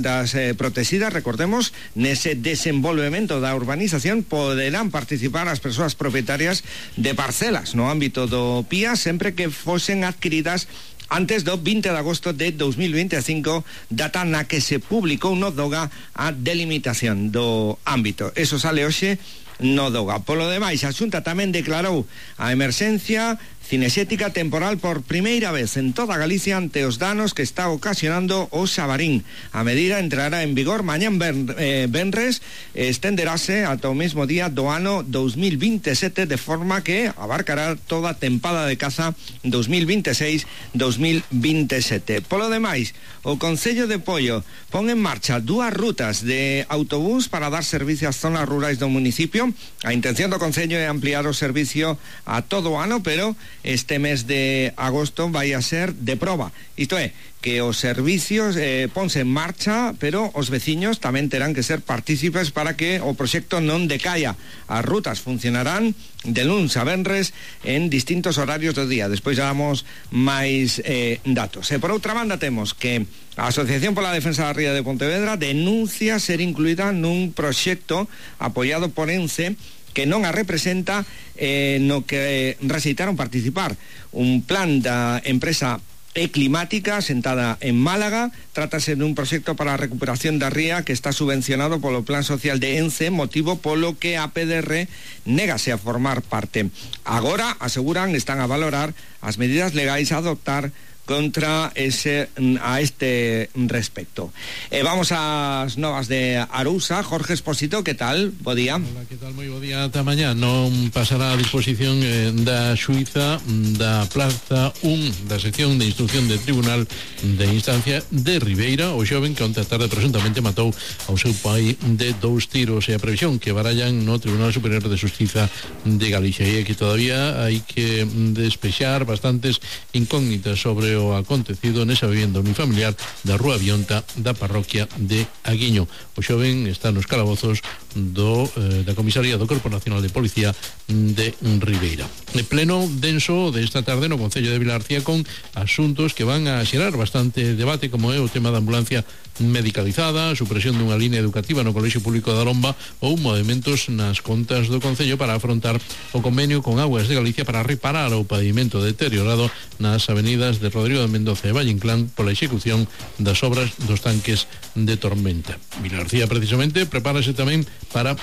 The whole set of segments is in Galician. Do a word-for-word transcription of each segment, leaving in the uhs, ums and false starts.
vivendas eh, protegidas, recordemos, nese desenvolvemento da urbanización poderán participar as persoas propietarias de parcelas no ámbito do P I A sempre que fosen adquiridas antes do vinte de agosto de dos mil veinticinco, data na que se publicou no DOGA a delimitación do ámbito. Eso sale hoxe no DOGA. Polo demais, a Xunta tamén declarou a emerxencia cinexética temporal por primeira vez en toda Galicia ante os danos que está ocasionando o Xabarín. A medida entrará en vigor mañán ben, eh, benres e estenderase ata o mesmo día do ano dos mil veintisiete, de forma que abarcará toda a tempada de caza dos mil veintiséis dos mil veintisiete. Polo demais, o Concello de Poio pon en marcha dúas rutas de autobús para dar servicio ás zonas rurais do municipio. A intención do Concello é ampliar o servicio a todo o ano, pero este mes de agosto vai a ser de proba. Isto é, que os servicios eh, ponse en marcha, pero os veciños tamén terán que ser partícipes para que o proxecto non decaia. As rutas funcionarán de luns a venres en distintos horarios do día. Despois damos máis eh, datos. E por outra banda temos que a Asociación pola Defensa da Ría de Pontevedra denuncia ser incluída nun proxecto apoiado por ENCE que non a representa, eh, no que rexeitaron participar. Un plan da empresa E-Climática sentada en Málaga. Trátase dun proxecto para a recuperación da ría que está subvencionado polo Plan Social de ENCE, motivo polo que a P D R négase a formar parte. Agora, aseguran, están a valorar as medidas legais a adoptar contra ese a este respecto. Eh, vamos ás novas de Arousa. Jorge Expósito, que tal? Bo día. Hola, que tal? Moi bo día. Ata mañá non pasará a disposición eh, da xuíza da Plaza un da sección de instrucción de Tribunal de Instancia de Ribeira, o xoven que onte a tarde presuntamente matou ao seu pai de dous tiros, e a previsión que barallan no Tribunal Superior de Xustiza de Galicia, e que todavía hai que despexar bastantes incógnitas sobre o acontecido nesa vivenda unifamiliar da Rúa Vionta da parroquia de Aguiño. O xoven está nos calabozos do, eh, da Comisaría do Corpo Nacional de Policía de Ribeira. De pleno denso desta tarde no Concello de Vilarcía, con asuntos que van a xerar bastante debate, como é o tema da ambulancia medicalizada, a supresión dunha línea educativa no Colexio Público da Lomba ou movementos nas contas do Concello para afrontar o convenio con Aguas de Galicia para reparar o pavimento deteriorado nas avenidas de Rodrigo de Mendoza e Valle Inclán pola execución das obras dos tanques de tormenta. Vilarcía, precisamente, prepárase tamén para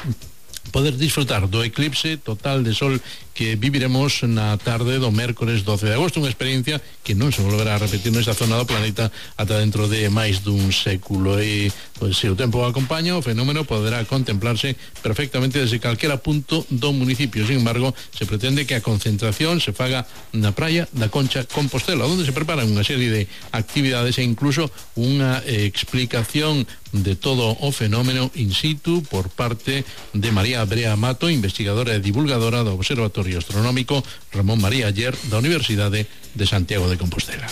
poder disfrutar do eclipse total de sol que viviremos na tarde do mércores doce de agosto, unha experiencia que non se volverá a repetir nesta zona do planeta ata dentro de máis dun século. E, pois, se o tempo acompaña, o fenómeno poderá contemplarse perfectamente desde calquera punto do municipio. Sin embargo, se pretende que a concentración se faga na praia da Concha Compostela, onde se preparan unha serie de actividades e incluso unha eh, explicación de todo o fenómeno in situ por parte de María Brea Mato, investigadora e divulgadora do Observatorio Astronómico Ramón María Aller da Universidade de Santiago de Compostela.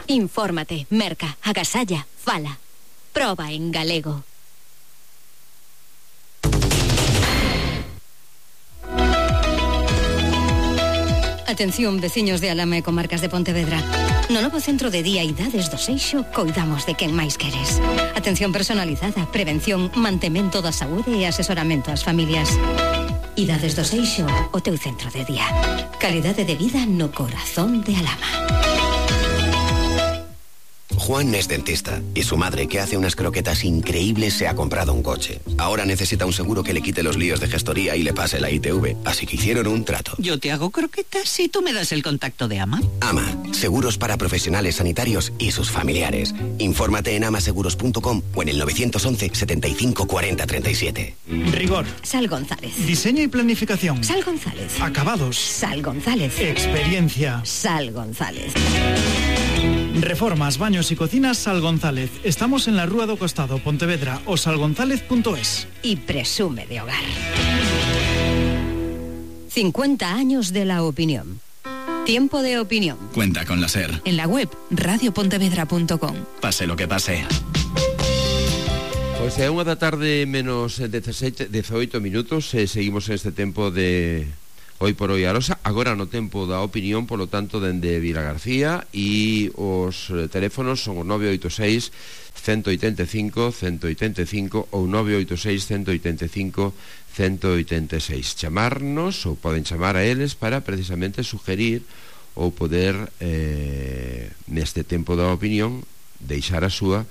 Infórmate, merca, agasalla, fala. Proba en galego. Atención, veciños de Alama e comarcas de Pontevedra. No novo centro de día Idades do Seixo coidamos de quen máis queres. Atención personalizada, prevención, mantemento da saúde e asesoramento ás familias. Idades do Seixo, o teu centro de día. Calidade de vida no corazón de Alama. Juan es dentista y su madre, que hace unas croquetas increíbles, se ha comprado un coche. Ahora necesita un seguro que le quite los líos de gestoría y le pase la I T V, así que hicieron un trato. Yo te hago croquetas y tú me das el contacto de AMA. AMA, seguros para profesionales sanitarios y sus familiares. Infórmate en amaseguros punto com o en el nueve once, setenta y cinco, cuarenta, treinta y siete. Rigor. Sal González. Diseño y planificación. Sal González. Acabados. Sal González. Experiencia. Sal González. Reformas, baños y cocinas Sal González. Estamos en la Rúa do Costado, Pontevedra, o salgonzález punto es. Y presume de hogar. cincuenta años de la opinión. Tiempo de opinión. Cuenta con la SER. En la web radio pontevedra punto com. Pase lo que pase. Pois é unha da tarde menos dezaseis, dezaoito minutos, e seguimos en este tempo de Hoy por hoy Arosa, agora no tempo da opinión, polo tanto, dende Vilagarcía, e os teléfonos son o nove oito seis, uno oito cinco, uno oito cinco ou nove oito seis, uno oito cinco, uno oito seis. Chamarnos, ou poden chamar a eles para precisamente sugerir ou poder eh, neste tempo da opinión deixar a súa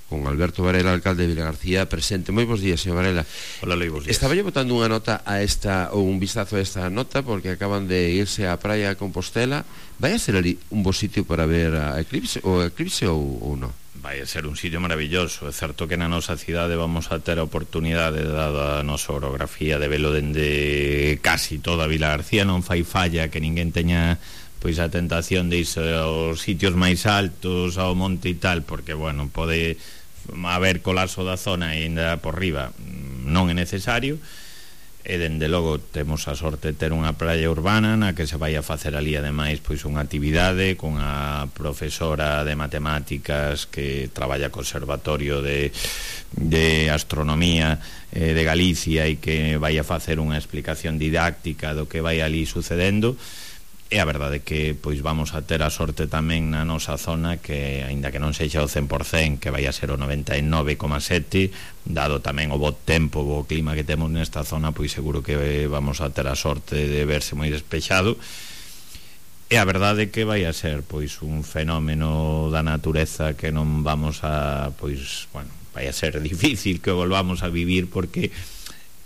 con Alberto Varela, alcalde de Vilagarcía, presente. Moi bons días, señor Varela. Hola, Luis, bons días. Estaba yo botando unha nota a esta, ou un vistazo a esta nota, porque acaban de irse á praia de Compostela. Vai a ser ali un bo sitio para ver a eclipse, o eclipse ou, ou non? Vai a ser un sitio maravilloso. É certo que na nosa cidade vamos a ter a oportunidade, dada a nosa orografía, de velo dende casi toda Vilagarcía. Non fai falla que ninguén teña pois a tentación de irse aos sitios máis altos, ao monte e tal, porque, bueno, pode haber colapso da zona e ainda por riba non é necesario. E dende logo temos a sorte de ter unha praia urbana na que se vai a facer ali ademais pois unha actividade con a profesora de matemáticas que traballa co Observatorio de, de Astronomía eh, de Galicia e que vai a facer unha explicación didáctica do que vai ali sucedendo. E a verdade é que pois vamos a ter a sorte tamén na nosa zona que, aínda que non sexa o cen por cen, que vai a ser o noventa e nove coma sete, dado tamén o bo tempo, o bo clima que temos nesta zona, pois seguro que vamos a ter a sorte de verse moi despexado. E a verdade é que vai a ser pois un fenómeno da natureza que non vamos a, pois, bueno, vai a ser difícil que volvamos a vivir, porque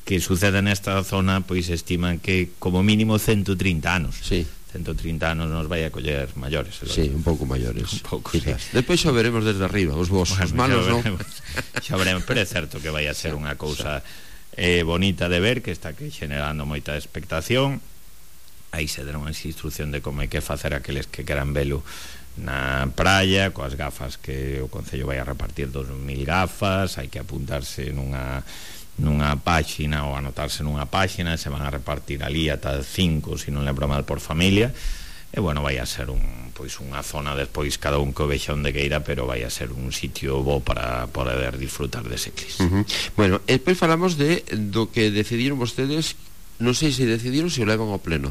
que suceda nesta zona, pois estiman que como mínimo ciento trinta anos. Sí. ciento trinta anos nos vai a coller maiores. Sí, un pouco maiores. Un pouco, sí. Depois xa veremos desde arriba, os vos, bueno, os malos non. Xa veremos, pero é certo que vai a ser unha cousa eh, bonita de ver, que está que generando moita expectación. Aí se deron as instrucción de como hai que facer aqueles que queran velo na praia, coas gafas que o Concello vai a repartir dos mil gafas, hai que apuntarse nunha nunha páxina ou anotarse nunha páxina, se van a repartir ali ata cinco, se non lembro mal, por familia. E bueno, vai a ser un, pois unha zona despois cada un que o vexa onde queira, pero vai a ser un sitio bo para poder disfrutar dese eclipse. Uh -huh. Bueno, despois falamos de do que decidiron vostedes, non sei se decidiron se o levan ao pleno.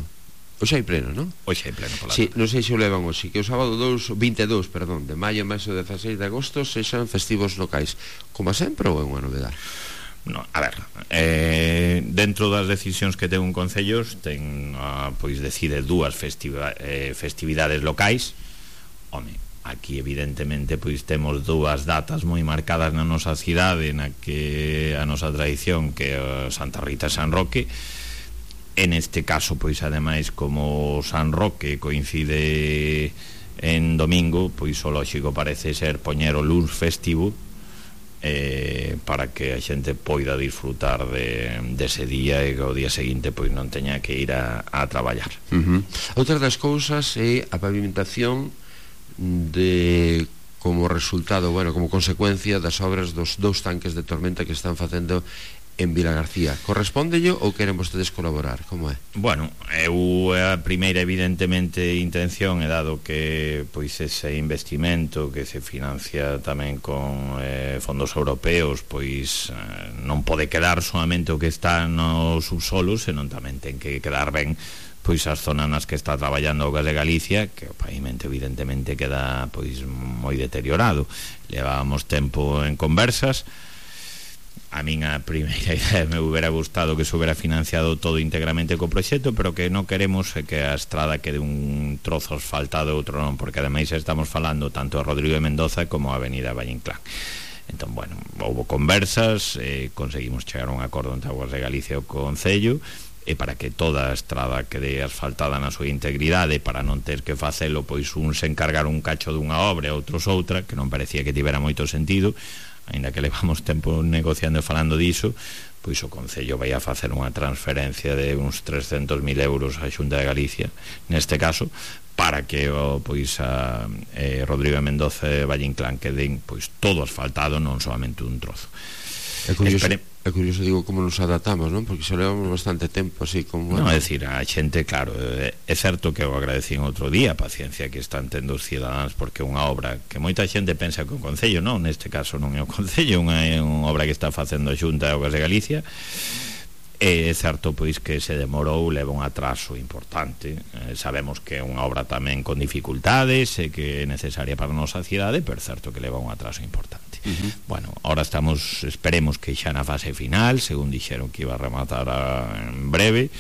Hoxe hai pleno, non? Hoxe hai pleno, pola. Sí, non sei se o levan hoxe, que o sábado vinte e dous, perdón, de maio, máis o dezaseis de agosto sexan festivos locais. Como sempre ou é unha novedade? No, a ver, eh, dentro das decisións que ten un concello ten, ah, pois decide dúas festiva, eh, festividades locais. Home, aquí evidentemente pois temos dúas datas moi marcadas na nosa cidade, na que a nosa tradición, que é Santa Rita e San Roque. En este caso, pois ademais, como San Roque coincide en domingo, pois o lóxico parece ser poñer o luns festivo, Eh, para que a xente poida disfrutar de, dese día e que o día seguinte pois non teña que ir a, a traballar. Uh -huh. Outra das cousas é a pavimentación de como resultado, bueno, como consecuencia das obras dos dous tanques de tormenta que están facendo en Vilagarcía. Correspóndelle ou queren vostedes colaborar? Como é? Bueno, eu a primeira evidentemente intención é dado que pois ese investimento que se financia tamén con eh, fondos europeos, pois eh, non pode quedar solamente o que está no subsolo, senón tamén ten que quedar ben pois as zonas nas que está traballando o Gas de Galicia, que o pavimento evidentemente queda pois moi deteriorado. Levábamos tempo en conversas. A min a primeira idea me hubiera gustado que se hubiera financiado todo íntegramente co proxecto, pero que non queremos é que a estrada quede un trozo asfaltado e outro non, porque ademais estamos falando tanto a Rodrigo de Mendoza como a Avenida Valle Inclán. Entón, bueno, houve conversas, eh, conseguimos chegar a un acordo entre Aguas de Galicia e o Concello, e para que toda a estrada quede asfaltada na súa integridade, para non ter que facelo, pois un se encargar un cacho dunha obra e outros outra, que non parecía que tivera moito sentido. Ainda que levamos tempo negociando e falando diso, pois o Concello vai a facer unha transferencia de uns trescentos mil euros á Xunta de Galicia, neste caso, para que o, pois a eh, Rodrigo de Mendoza e Valle Inclán queden pois todo asfaltado, non solamente un trozo. É curioso, Espere... é curioso, digo, como nos adaptamos, non? Porque xa levamos bastante tempo así como... Non, é dicir, a xente, claro, é, é certo que eu agradecí en outro día a paciencia que están tendo os cidadáns, porque é unha obra que moita xente pensa que o Concello, non, neste caso non é o Concello, é unha, é unha obra que está facendo a Xunta de Augas de Galicia, É certo pois que se demorou, leva un atraso importante. Eh, sabemos que é unha obra tamén con dificultades e que é necesaria para a nosa cidade, pero é certo que leva un atraso importante. Uh-huh. Bueno, ahora estamos, esperemos que xa na fase final, según dixeron que iba a rematar a, en breve,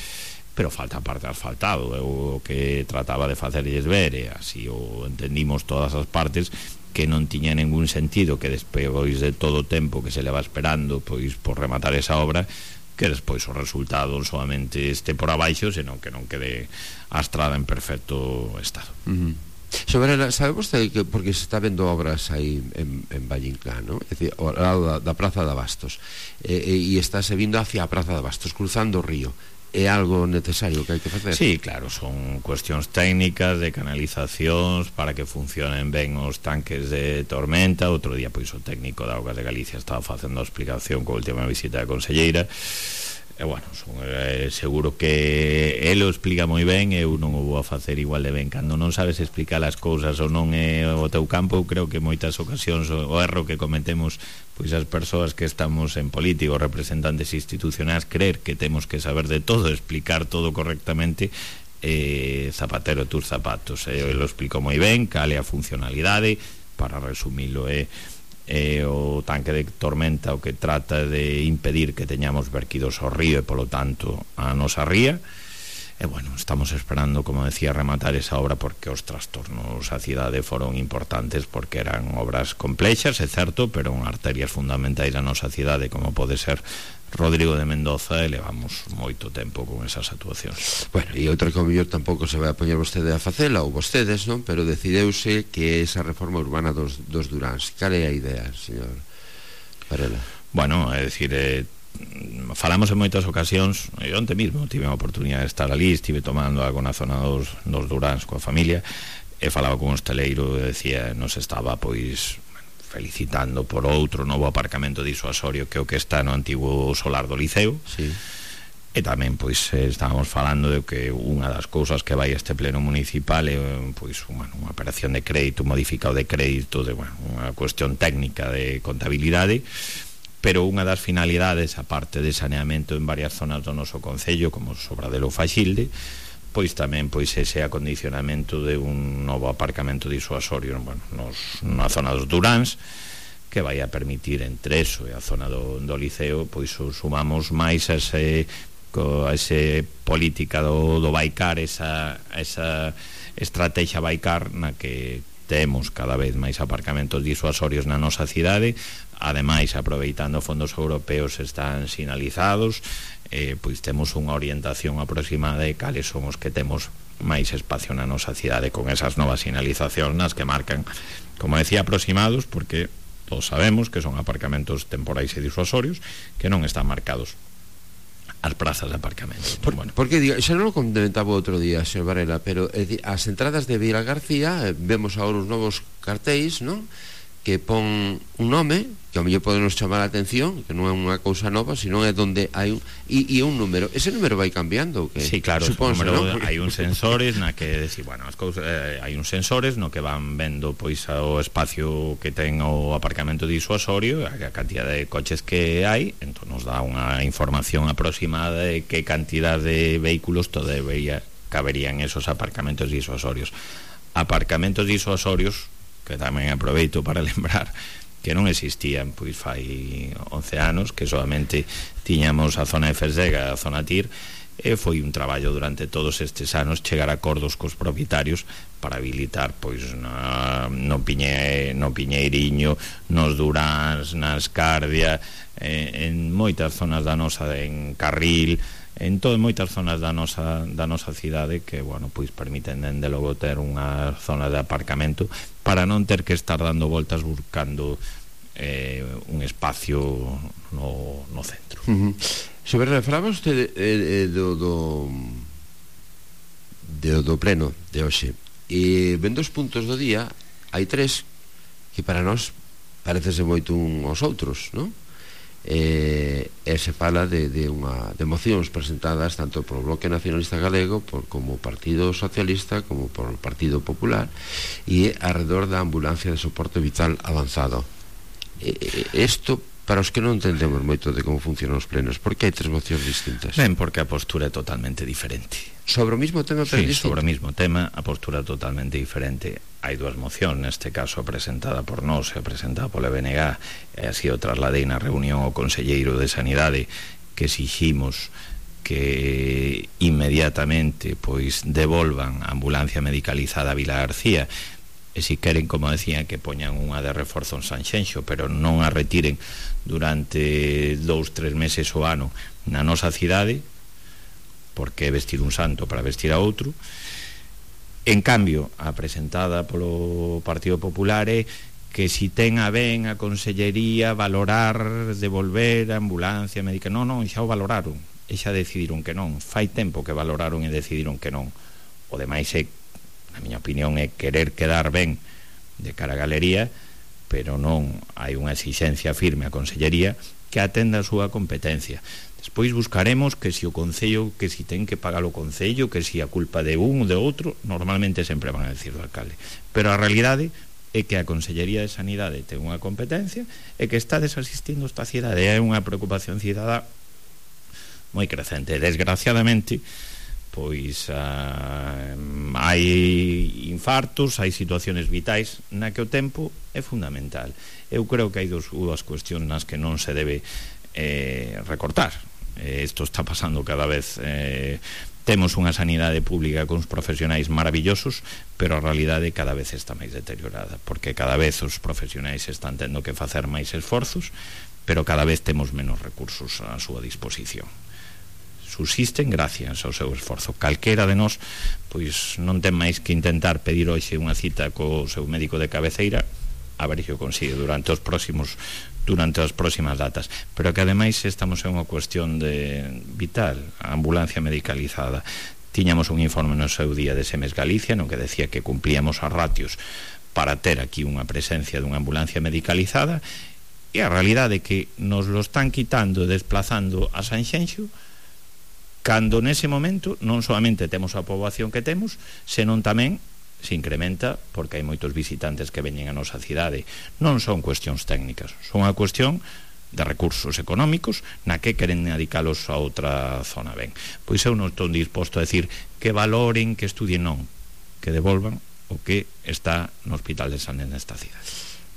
pero falta parte asfaltado. Eu o que trataba de facerlles ver, e así o entendimos todas as partes, que non tiña ningún sentido que despois de todo o tempo que se leva esperando pois por rematar esa obra, que despois o resultado non solamente este por abaixo, senón que non quede a estrada en perfecto estado. Uh-huh. Sobre, sabe vostede que porque se está vendo obras aí en, en Vallinclán, ¿no? É dicir, ao lado da, da Praza de Abastos, e, e, e estáse vindo hacia a Praza de Abastos, cruzando o río. É algo necesario que hai que facer? Sí, claro, son cuestións técnicas de canalizacións para que funcionen ben os tanques de tormenta. Outro día, pois, o técnico da Augas de Galicia estaba facendo a explicación coa última visita da conselleira. E, bueno, son, eh, seguro que ele o explica moi ben, eu non o vou a facer igual de ben. Cando non sabes explicar as cousas ou non é o teu campo, eu creo que moitas ocasións o, o erro que cometemos pois as persoas que estamos en política, representantes institucionais, creer que temos que saber de todo, explicar todo correctamente. eh, zapatero tus zapatos, eh, ele o explicou moi ben, cal é a funcionalidade. Para resumilo, é eh, o tanque de tormenta o que trata de impedir que teñamos verquidos ao río e polo tanto a nosa ría. E bueno, estamos esperando, como decía, rematar esa obra porque os trastornos á cidade foron importantes, porque eran obras complexas, é certo, pero en arterias fundamentais da nosa cidade, como pode ser Rodrigo de Mendoza, e levamos moito tempo con esas actuacións. Bueno, e outra que ao mellor tampouco se vai a poñer vostede a facela, ou vostedes, non? Pero decideuse que esa reforma urbana dos, dos Duráns. Cal é a idea, señor Varela? Bueno, é dicir, eh, falamos en moitas ocasións. Eu onte mesmo tive a oportunidade de estar ali, estive tomando algo na zona dos, dos Duráns coa familia, e falaba con un hosteleiro e decía, nos estaba pois felicitando por outro novo aparcamento disuasorio que o que está no antigo solar do Liceo. Sí. E tamén pois estábamos falando de que unha das cousas que vai a este pleno municipal é pois bueno, unha operación de crédito, modificado de crédito, de bueno, unha cuestión técnica de contabilidade, pero unha das finalidades, aparte de saneamento en varias zonas do noso concello, como Sobradelo ou Faxilde, pois tamén pois ese acondicionamento de un novo aparcamento disuasorio, bueno, nos, na zona dos Duráns, que vai a permitir entre eso e a zona do, do Liceo, pois sumamos máis a ese, a ese política do, do Baicar, esa, esa estrategia Baicar na que temos cada vez máis aparcamentos disuasorios na nosa cidade. Ademais, aproveitando fondos europeos están sinalizados, eh, pois temos unha orientación aproximada de cales son os que temos máis espacio na nosa cidade con esas novas sinalizacións nas que marcan, como decía, aproximados, porque todos sabemos que son aparcamentos temporais e disuasorios que non están marcados as prazas de aparcamento. Por, bueno. Porque diga, xa non o comentaba outro día, señor Varela, pero é dicir, as entradas de Vila García, eh, vemos agora os novos cartéis, non? Que pon un nome que ao mellor podenos chamar a atención, que non é unha cousa nova, sino é donde hai un e, e un número. Ese número vai cambiando, que sí, claro, suponse, número, ¿no? Hai uns sensores na que decir, bueno, as cousas, eh, hai uns sensores no que van vendo pois o espacio que ten o aparcamento disuasorio, a cantidad de coches que hai, entón nos dá unha información aproximada de que cantidad de vehículos todavía caberían esos aparcamentos disuasorios. Aparcamentos disuasorios que tamén aproveito para lembrar que non existían pois fai once anos, que solamente tiñamos a zona de Fersega, a zona Tir, e foi un traballo durante todos estes anos chegar a acordos cos propietarios para habilitar pois na, no, Piñe, no Piñeiriño, nos Duráns, na Escardia, eh, en moitas zonas da nosa, en Carril, en todo, moitas zonas da nosa, da nosa cidade que, bueno, pois permiten dende logo ter unha zona de aparcamento para non ter que estar dando voltas buscando eh, un espacio no, no centro. Uh-huh. Sobre falaba usted eh, eh, do, do, do do pleno de hoxe, e vendo os puntos do día hai tres que para nós parecese moito un aos outros, non? E, e se fala de, de, unha, de mocións presentadas tanto por o Bloque Nacionalista Galego por, como o Partido Socialista como por o Partido Popular, e alrededor da ambulancia de soporte vital avanzado. Isto para os que non entendemos moito de como funcionan os plenos, por que hai tres mocións distintas? Ben, porque a postura é totalmente diferente. Sobre o mismo tema, pero sí, distinto? sobre o mismo tema, a postura é totalmente diferente. Hai dúas mocións, neste caso presentada por nós e presentada pola B N G, e así o trasladei na reunión ao Conselleiro de Sanidade, que exiximos que inmediatamente pois devolvan a ambulancia medicalizada a Vila García, e si queren, como decían, que poñan unha de reforzo en Sanxenxo, pero non a retiren durante dous, tres meses o ano na nosa cidade, porque é vestir un santo para vestir a outro. En cambio, a presentada polo Partido Popular é que si ten a ben a Consellería valorar devolver a ambulancia médica. Non, non, xa o valoraron, e xa decidiron que non. Fai tempo que valoraron e decidiron que non. O demais é, na miña opinión, é querer quedar ben de cara a galería, pero non hai unha exixencia firme a Consellería que atenda a súa competencia. Despois buscaremos que si o Concello, que si ten que pagar o Concello, que si a culpa de un ou de outro, normalmente sempre van a decir o alcalde. Pero a realidade é que a Consellería de Sanidade ten unha competencia e que está desasistindo esta cidade. É unha preocupación cidadá moi crecente. Desgraciadamente, pois ah, hai infartos, hai situaciones vitais na que o tempo é fundamental. Eu creo que hai dos, dúas cuestións nas que non se debe eh, recortar. Eh, isto está pasando cada vez. Eh, temos unha sanidade pública con uns profesionais maravillosos, pero a realidade cada vez está máis deteriorada, porque cada vez os profesionais están tendo que facer máis esforzos, pero cada vez temos menos recursos á súa disposición. Subsisten gracias ao seu esforzo. Calquera de nós pois non ten máis que intentar pedir hoxe unha cita co seu médico de cabeceira, a ver se o consigue durante os próximos durante as próximas datas, pero que ademais estamos en unha cuestión de vital, a ambulancia medicalizada. Tiñamos un informe no seu día de Semes Galicia no que decía que cumplíamos as ratios para ter aquí unha presencia dunha ambulancia medicalizada, e a realidade é que nos lo están quitando e desplazando a Sanxenxo, cando nese momento non solamente temos a poboación que temos, senón tamén se incrementa porque hai moitos visitantes que veñen a nosa cidade. Non son cuestións técnicas, son unha cuestión de recursos económicos na que queren dedicalos a outra zona. Ben, pois eu non estou disposto a decir que valoren, que estudien, non, que devolvan o que está no Hospital de Sanidade nesta cidade.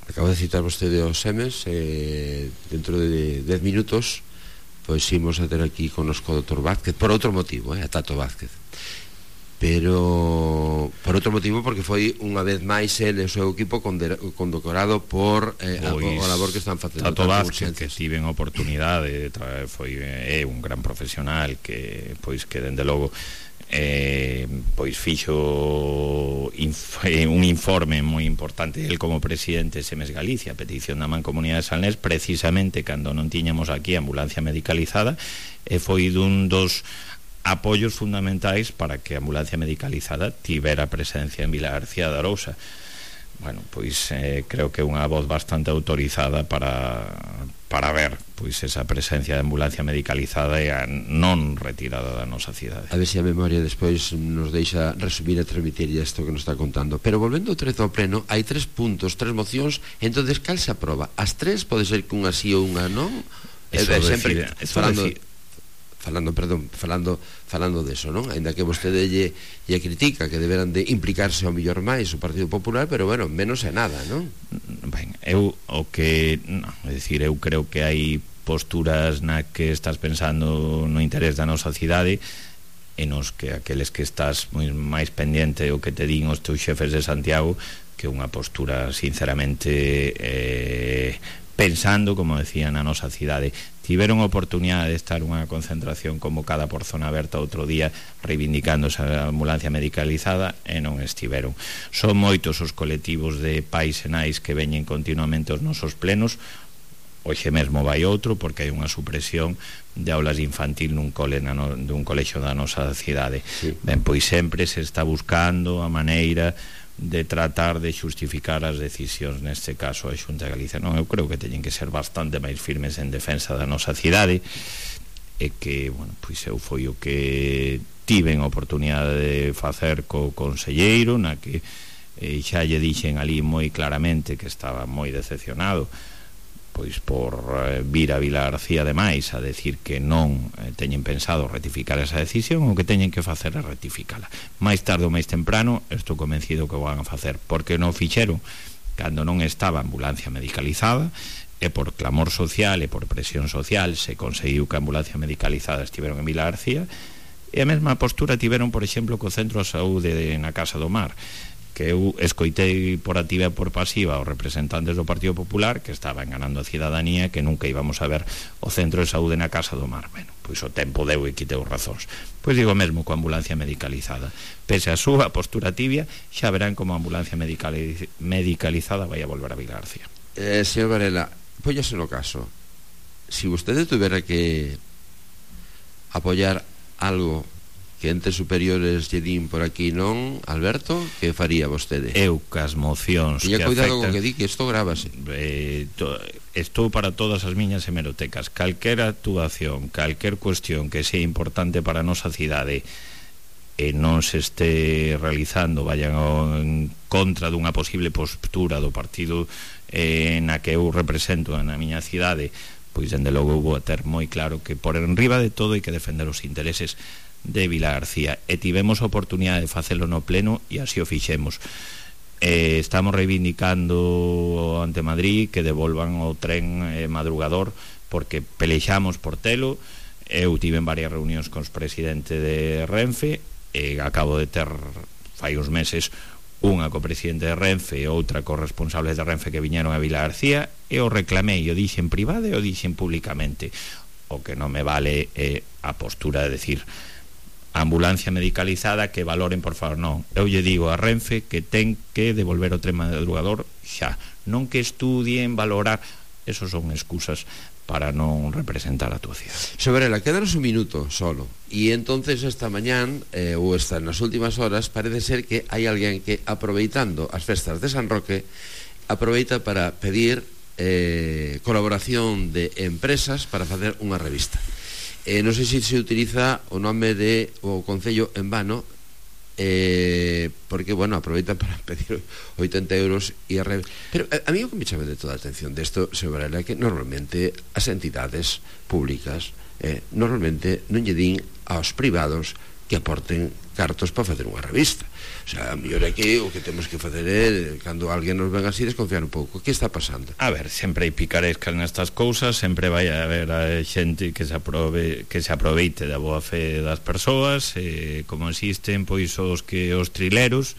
Acabo de citar vostede os Semes, eh, dentro de dez minutos pois imos a ter aquí connosco o doutor Vázquez, por outro motivo, eh, a Tato Vázquez, pero por outro motivo porque foi unha vez máis ele e o seu equipo condecorado por eh, pois, a, a labor que están facendo. Tato Vázquez, que tiven oportunidade, foi é un gran profesional que pois que dende logo eh, pois fixo inf un informe moi importante el como presidente de Semes Galicia, a petición da Mancomunidade de Salnés, precisamente cando non tiñamos aquí ambulancia medicalizada, e foi dun dos apoios fundamentais para que a ambulancia medicalizada tivera presencia en Vila García de Arousa. Bueno, pois eh, creo que é unha voz bastante autorizada para para ver pois esa presencia de ambulancia medicalizada e a non retirada da nosa cidade. A ver se a memoria despois nos deixa resumir e transmitir isto que nos está contando. Pero volvendo ao trezo ao pleno, hai tres puntos, tres mocións, entonces cal se aproba? As tres pode ser que unha sí ou unha non? Eso é, sempre decide, falando decide. falando, perdón, falando falando deso, non? Ainda que vostede lle, lle critica que deberan de implicarse ao millor máis o Partido Popular, pero bueno, menos é nada, non? Ben, eu o que, non, é dicir, eu creo que hai posturas na que estás pensando no interés da nosa cidade e nos que aqueles que estás moi máis pendiente o que te din os teus xefes de Santiago, que unha postura sinceramente eh, pensando, como decía, na nosa cidade. Tiveron a oportunidade de estar unha concentración convocada por Zona Aberta outro día reivindicando esa ambulancia medicalizada e non estiveron. Son moitos os colectivos de pais e nais que veñen continuamente aos nosos plenos. Hoxe mesmo vai outro porque hai unha supresión de aulas infantil nun cole na no, dun colexio da nosa cidade. Sí. Ben, pois sempre se está buscando a maneira de tratar de xustificar as decisións, neste caso a Xunta de Galicia. Non, eu creo que teñen que ser bastante máis firmes en defensa da nosa cidade, e que, bueno, pois eu foi o que tiven a oportunidade de facer co conselleiro, na que eh, xa lle dixen ali moi claramente que estaba moi decepcionado pois por eh, vir a Vila García demais a decir que non eh, teñen pensado rectificar esa decisión, o que teñen que facer é rectificala. Mais tarde ou máis temprano estou convencido que o van a facer, porque non fixeron cando non estaba a ambulancia medicalizada, e por clamor social e por presión social se conseguiu que a ambulancia medicalizada estiveron en Vila García, e a mesma postura tiveron, por exemplo, co Centro de Saúde na Casa do Mar, que eu escoitei por activa e por pasiva os representantes do Partido Popular que estaba enganando a cidadanía, que nunca íbamos a ver o Centro de Saúde na Casa do Mar. Bueno, pois o tempo deu e quiteu razóns. Pois digo mesmo coa ambulancia medicalizada. Pese a súa postura tibia, xa verán como a ambulancia medicaliz medicalizada vai a volver a Vila García. Eh, señor Varela, póñase no caso. Si vostede tuvera que apoiar algo que entes superiores lle din por aquí non, Alberto, que faría vostede? Eu cas mocións que cuidado afectan, con que di que isto grábase. eh, to, estou para todas as miñas hemerotecas. Calquer actuación, calquer cuestión que sea importante para a nosa cidade e non se este realizando, vayan en contra dunha posible postura do partido eh, na que eu represento na miña cidade, pois dende logo vou a ter moi claro que por enriba de todo hai que defender os intereses de Vila García, e tivemos a oportunidade de facelo no pleno e así o fixemos. Eh, estamos reivindicando ante Madrid que devolvan o tren eh, madrugador, porque pelexamos por telo. Eu tive en varias reunións cos presidente de Renfe, e acabo de ter fai uns meses unha co presidente de Renfe e outra co responsables de Renfe que viñeron a Vila García, e o reclamei, o dixen privado e o dixen públicamente. O que non me vale é eh, a postura de decir ambulancia medicalizada, que valoren, por favor, non. Eu lle digo a Renfe que ten que devolver o tren madrugador xa, non que estudien, valorar. Esos son excusas para non representar a túa cidade. Sobrela, quédanos un minuto solo. E entonces esta mañán, eh, ou esta nas últimas horas, parece ser que hai alguén que, aproveitando as festas de San Roque, aproveita para pedir eh, colaboración de empresas para facer unha revista. Eh, non sei se se utiliza o nome de o Concello en vano, eh, porque, bueno, aproveitan para pedir oitenta euros e a re... Pero a, a mí o que me chama de toda a atención desto, señor Varela, é que normalmente as entidades públicas eh, normalmente non lle din aos privados que aporten cartos para facer unha revista. O sea, a mellor é que o que temos que facer é, cando alguén nos ven así, desconfiar un pouco. Que está pasando? A ver, sempre hai picarescas nestas cousas, sempre vai a haber a xente que se aprove, que se aproveite da boa fe das persoas, eh, como existen pois os que os trileros,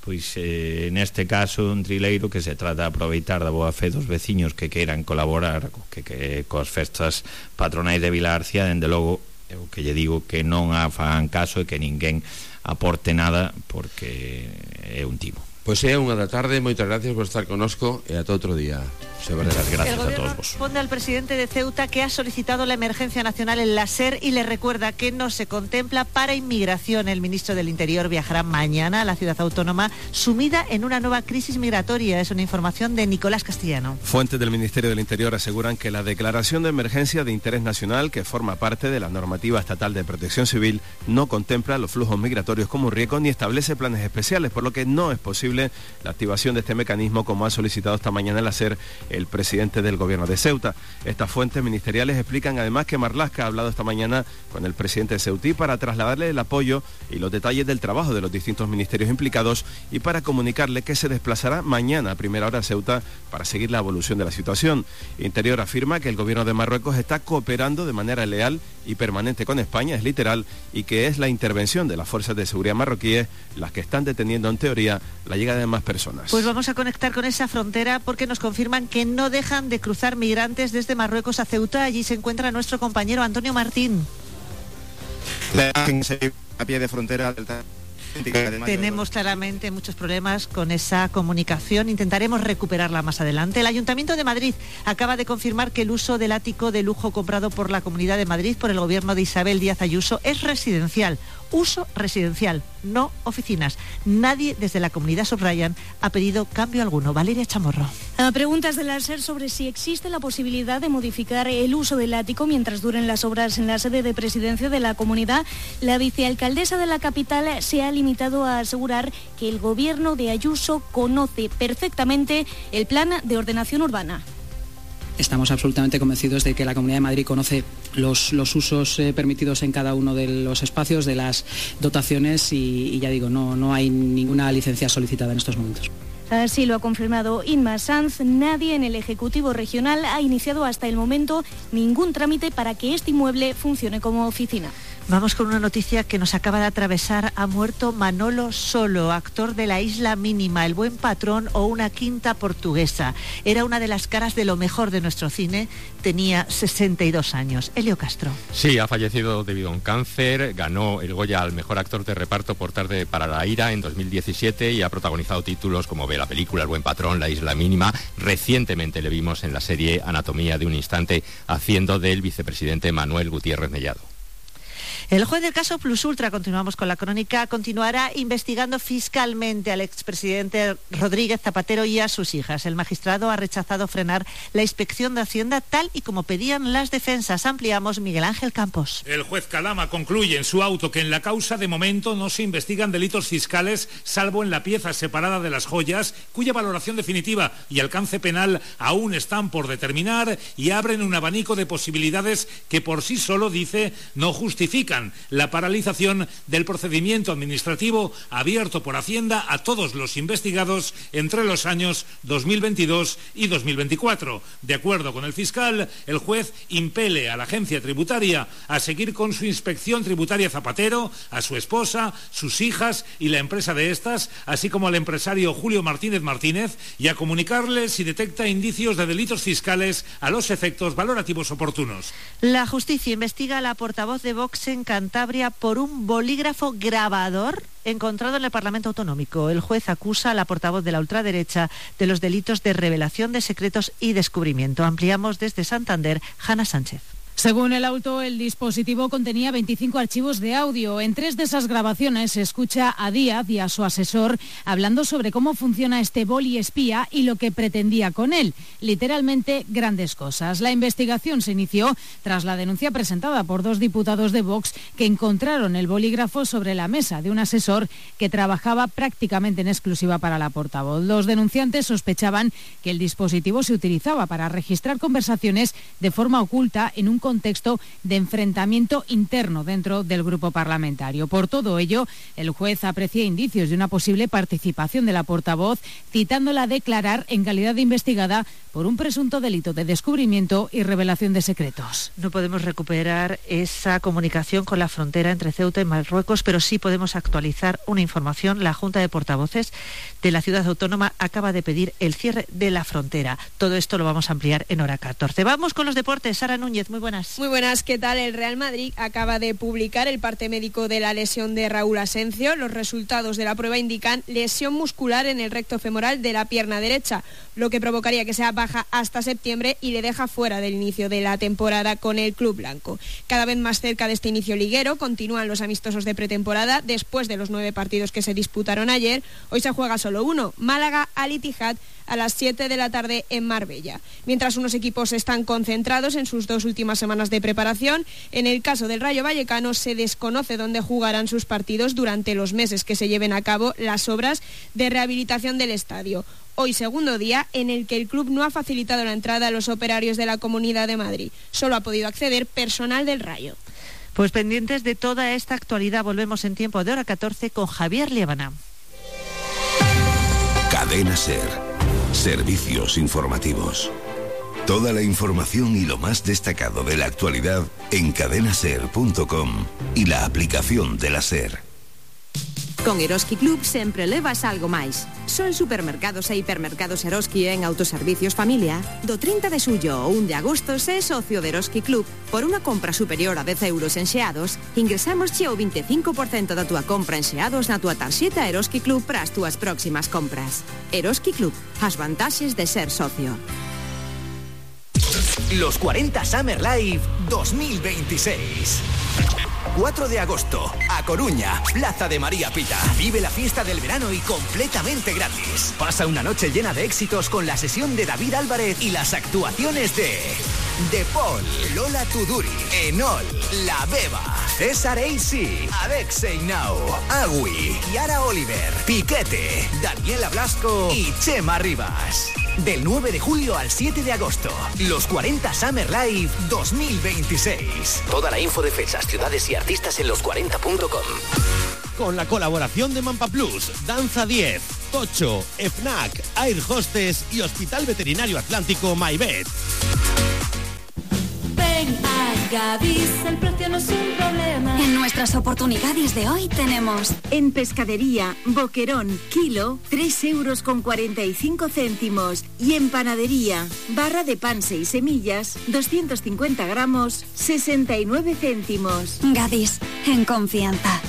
pois eh, neste caso un trileiro que se trata de aproveitar da boa fe dos veciños que queiran colaborar que, que coas festas patronais de Vila García. Dende logo, eu que lle digo que non a fagan caso e que ninguén aporte nada, porque é un timo. Pois é unha da tarde, moitas gracias por estar conosco e ata outro día. Muchas gracias a todos vos. Responde al presidente de Ceuta que ha solicitado la emergencia nacional en la SER y le recuerda que no se contempla para inmigración. El ministro del Interior viajará mañana a la ciudad autónoma sumida en una nueva crisis migratoria. Es una información de Nicolás Castellano. Fuentes del Ministerio del Interior aseguran que la declaración de emergencia de interés nacional, que forma parte de la normativa estatal de protección civil, no contempla los flujos migratorios como un riesgo ni establece planes especiales, por lo que no es posible la activación de este mecanismo, como ha solicitado esta mañana en la SER el presidente del gobierno de Ceuta. Estas fuentes ministeriales explican además que Marlaska ha hablado esta mañana con el presidente de Ceutí para trasladarle el apoyo y los detalles del trabajo de los distintos ministerios implicados y para comunicarle que se desplazará mañana a primera hora a Ceuta para seguir la evolución de la situación. Interior afirma que el gobierno de Marruecos está cooperando de manera leal y permanente con España, es literal, y que es la intervención de las fuerzas de seguridad marroquíes las que están deteniendo en teoría la llegada de más personas. Pues vamos a conectar con esa frontera porque nos confirman que no dejan de cruzar migrantes desde Marruecos a Ceuta. Allí se encuentra nuestro compañero Antonio Martín. A pie de frontera del... Tenemos claramente muchos problemas con esa comunicación. Intentaremos recuperarla más adelante. El Ayuntamiento de Madrid acaba de confirmar que el uso del ático de lujo comprado por la Comunidad de Madrid por el gobierno de Isabel Díaz Ayuso es residencial. Uso residencial, no oficinas. Nadie desde la comunidad, subrayan, ha pedido cambio alguno. Valeria Chamorro. A preguntas de la SER sobre si existe la posibilidad de modificar el uso del ático mientras duren las obras en la sede de presidencia de la comunidad, la vicealcaldesa de la capital se ha limitado a asegurar que el gobierno de Ayuso conoce perfectamente el plan de ordenación urbana. estamos absolutamente convencidos de que la Comunidad de Madrid conoce los, los usos eh, permitidos en cada uno de los espacios, de las dotaciones y, y ya digo, no, no hay ninguna licencia solicitada en estos momentos. Así lo ha confirmado Inma Sanz. Nadie en el Ejecutivo Regional ha iniciado hasta el momento ningún trámite para que este inmueble funcione como oficina. Vamos con una noticia que nos acaba de atravesar. Ha muerto Manolo Solo, actor de La Isla Mínima, El Buen Patrón o Una Quinta Portuguesa. Era una de las caras de lo mejor de nuestro cine. Tenía sesenta y dos años. Elio Castro. Sí, ha fallecido debido a un cáncer. Ganó el Goya al mejor actor de reparto por Tarde para la Ira en dos mil diecisiete y ha protagonizado títulos como ve la película El Buen Patrón, La Isla Mínima. Recientemente le vimos en la serie Anatomía de un Instante haciendo del vicepresidente Manuel Gutiérrez Mellado. El juez del caso Plus Ultra, continuamos con la crónica, continuará investigando fiscalmente al expresidente Rodríguez Zapatero y a sus hijas. El magistrado ha rechazado frenar la inspección de Hacienda tal y como pedían las defensas. Ampliamos, Miguel Ángel Campos. El juez Calama concluye en su auto que en la causa de momento no se investigan delitos fiscales, salvo en la pieza separada de las joyas, cuya valoración definitiva y alcance penal aún están por determinar, y abren un abanico de posibilidades que por sí solo, dice, no justifican la paralización del procedimiento administrativo abierto por Hacienda a todos los investigados entre los años dos mil veintidós y dos mil veinticuatro. De acuerdo con el fiscal, el juez impele a la agencia tributaria a seguir con su inspección tributaria Zapatero, a su esposa, sus hijas y la empresa de estas, así como al empresario Julio Martínez Martínez, y a comunicarle si detecta indicios de delitos fiscales a los efectos valorativos oportunos. La justicia investiga a la portavoz de Vox en Cantabria por un bolígrafo grabador encontrado en el Parlamento Autonómico. El juez acusa a la portavoz de la ultraderecha de los delitos de revelación de secretos y descubrimiento. Ampliamos desde Santander, Hanna Sánchez. Según el auto, el dispositivo contenía veinticinco archivos de audio. En tres de esas grabaciones se escucha a Díaz y a su asesor hablando sobre cómo funciona este boli espía y lo que pretendía con él. Literalmente, grandes cosas. La investigación se inició tras la denuncia presentada por dos diputados de Vox que encontraron el bolígrafo sobre la mesa de un asesor que trabajaba prácticamente en exclusiva para la portavoz. Los denunciantes sospechaban que el dispositivo se utilizaba para registrar conversaciones de forma oculta en un contexto de enfrentamiento interno dentro del grupo parlamentario. Por todo ello, el juez aprecia indicios de una posible participación de la portavoz, citándola a declarar en calidad de investigada por un presunto delito de descubrimiento y revelación de secretos. No podemos recuperar esa comunicación con la frontera entre Ceuta y Marruecos, pero sí podemos actualizar una información. La Junta de Portavoces de la ciudad autónoma acaba de pedir el cierre de la frontera. Todo esto lo vamos a ampliar en hora catorce. Vamos con los deportes. Sara Núñez, muy buenas. Muy buenas, ¿qué tal? El Real Madrid acaba de publicar el parte médico de la lesión de Raúl Asencio. Los resultados de la prueba indican lesión muscular en el recto femoral de la pierna derecha, lo que provocaría que sea baja hasta septiembre y le deja fuera del inicio de la temporada con el club blanco. Cada vez más cerca de este inicio liguero continúan los amistosos de pretemporada. Después de los nueve partidos que se disputaron ayer, hoy se juega solo uno, Málaga Al Ittihad, a las siete de la tarde en Marbella. Mientras unos equipos están concentrados en sus dos últimas semanas de preparación, en el caso del Rayo Vallecano se desconoce dónde jugarán sus partidos durante los meses que se lleven a cabo las obras de rehabilitación del estadio. Hoy segundo día en el que el club no ha facilitado la entrada a los operarios de la Comunidad de Madrid. Solo ha podido acceder personal del Rayo. Pues pendientes de toda esta actualidad, volvemos en tiempo de hora catorce con Javier Liébana. Cadena SER. Servicios informativos. Toda la información y lo más destacado de la actualidad en cadena ser punto com y la aplicación de la SER. Con Eroski Club sempre levas algo máis. Son supermercados e hipermercados Eroski en Autoservicios Familia. Do trinta de xullo ao un de agosto, se é socio de Eroski Club, por unha compra superior a dez euros en xeados, ingresamos xe o vinte e cinco por cento da túa compra en xeados na túa tarxeta Eroski Club para as túas próximas compras. Eroski Club, as vantaxes de ser socio. Los cuarenta Summer Live dos mil veintiséis. cuatro de agosto, A Coruña, Plaza de María Pita. Vive la fiesta del verano y completamente gratis. Pasa una noche llena de éxitos con la sesión de David Álvarez y las actuaciones de De Paul, Lola Tuduri, Enol, La Beba, César A C, Alexei Now, Agui, Yara Oliver, Piquete, Daniela Blasco y Chema Rivas. del nueve de julio al siete de agosto. Los cuarenta Summer Live dos mil veintiséis. Toda la info de fechas, ciudades y artistas en los cuarenta punto com. Con la colaboración de Mampa Plus, Danza diez, Tocho, FNAC, Air Hostess y Hospital Veterinario Atlántico MyVet. Ven a Gadis, el precio no es un problema. En nuestras oportunidades de hoy tenemos en pescadería boquerón kilo tres euros con cuarenta y cinco céntimos y en panadería barra de pan seis semillas doscientos cincuenta gramos sesenta y nueve céntimos. Gadis, en confianza.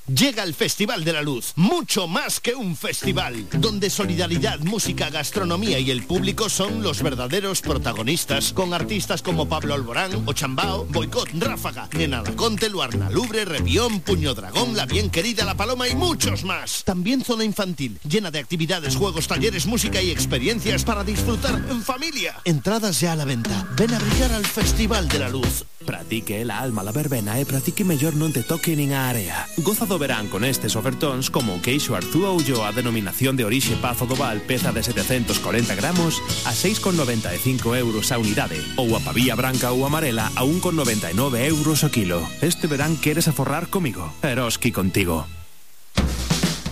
Llega el Festival de la Luz, mucho más que un festival, donde solidaridad, música, gastronomía y el público son los verdaderos protagonistas, con artistas como Pablo Alborán, Ochambao, Boicot, Ráfaga, Nena Laconte, Luarna Lubre, Revión, Puño Dragón, La Bien Querida, La Paloma y muchos más. También zona infantil, llena de actividades, juegos, talleres, música y experiencias para disfrutar en familia. Entradas ya a la venta. Ven a brillar al Festival de la Luz. Pratique la alma la verbena e pratique mellor non te toque nin a area. Goza do verán con estes ofertóns como o queixo Arzúa Ulloa a denominación de orixe Pazo do Val, peza de setecentos corenta gramos a seis con noventa e cinco euros a unidade, ou a pavía branca ou amarela a un con noventa e nove euros o kilo. Este verán queres aforrar comigo? Eroski contigo.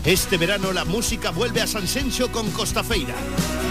Este verano la música vuelve a Sanxenxo con Costafeira.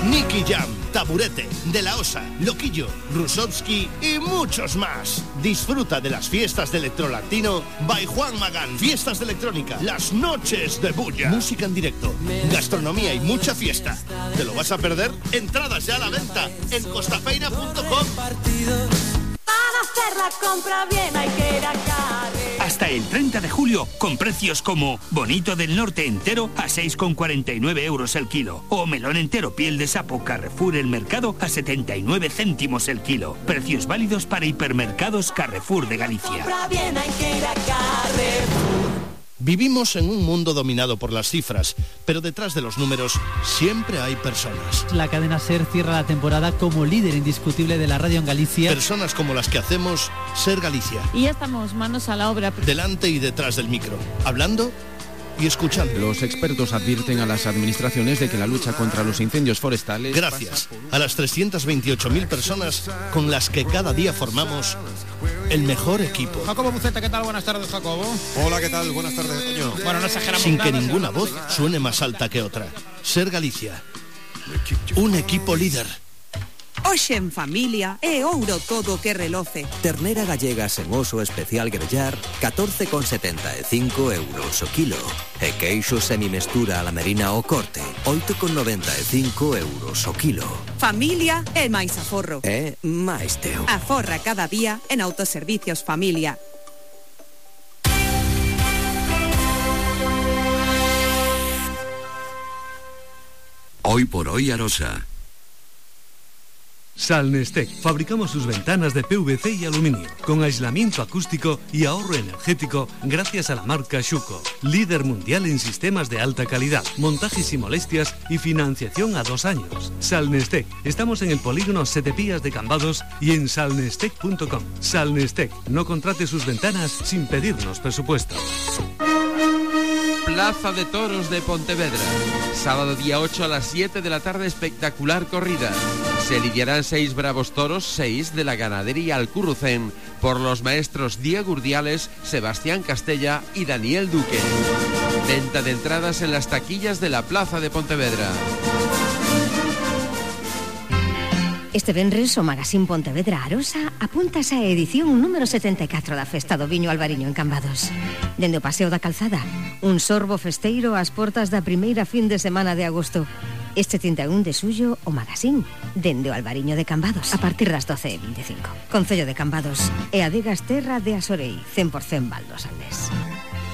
Nicky Jam, Taburete, De La Osa, Loquillo, Rusovsky y muchos más. Disfruta de las fiestas de electrolatino by Juan Magán. Fiestas de electrónica, las noches de bulla. Música en directo, gastronomía y mucha fiesta. ¿Te lo vas a perder? Entradas ya a la venta en costafeira punto com. Para hacer la compra bien hay que ir a Carre. Hasta el treinta de julio, con precios como bonito del norte entero a seis con cuarenta y nueve euros el kilo. O melón entero piel de sapo Carrefour El Mercado a setenta y nueve céntimos el kilo. Precios válidos para hipermercados Carrefour de Galicia. Compra bien hay que ir a Carrefour. Vivimos en un mundo dominado por las cifras, pero detrás de los números siempre hay personas. La cadena SER cierra la temporada como líder indiscutible de la radio en Galicia. Personas como las que hacemos SER Galicia. Y ya estamos manos a la obra. Delante y detrás del micro, hablando y escuchando. Los expertos advierten a las administraciones de que la lucha contra los incendios forestales... Gracias a las trescientas veintiocho mil personas con las que cada día formamos el mejor equipo. Jacobo Buceta, ¿qué tal? Buenas tardes, Jacobo. Hola, ¿qué tal? Buenas tardes, Toño. Bueno, no exageramos Sin nada, que ninguna voz suene más alta que otra. SER Galicia. Un equipo líder. Hoxe en familia é ouro todo que reloce. Ternera gallega sen oso especial grellar, catorce con setenta e cinco euros o kilo. E queixo semimestura a la merina o corte, oito con noventa e cinco euros o kilo. Familia é máis aforro. É máis teu. Aforra cada día en Autoservicios Familia. Hoy por hoy Arosa. Salnestec. Fabricamos sus ventanas de P V C y aluminio, con aislamiento acústico y ahorro energético gracias a la marca Schuco. Líder mundial en sistemas de alta calidad, montajes y molestias y financiación a dos años. Salnestec. Estamos en el polígono Setepías de Cambados y en salnestec punto com. Salnestec. No contrate sus ventanas sin pedirnos presupuesto. Plaza de Toros de Pontevedra. Sábado día ocho a las siete de la tarde, espectacular corrida. Se lidiarán seis bravos toros, seis de la ganadería Alcurrucén, por los maestros Diego Urdiales, Sebastián Castella y Daniel Duque. Venta de entradas en las taquillas de la Plaza de Pontevedra. Este venres o Magazín Pontevedra Arosa apuntas a edición número setenta e catro da Festa do Viño Albariño en Cambados. Dende o Paseo da Calzada, un sorbo festeiro ás portas da primeira fin de semana de agosto. Este trinta e un de xullo, o Magazín, dende o Albariño de Cambados, a partir das doce e vinte e cinco. Concello de Cambados e adegas terra de Asorei, cen por cen Valdos Aldés.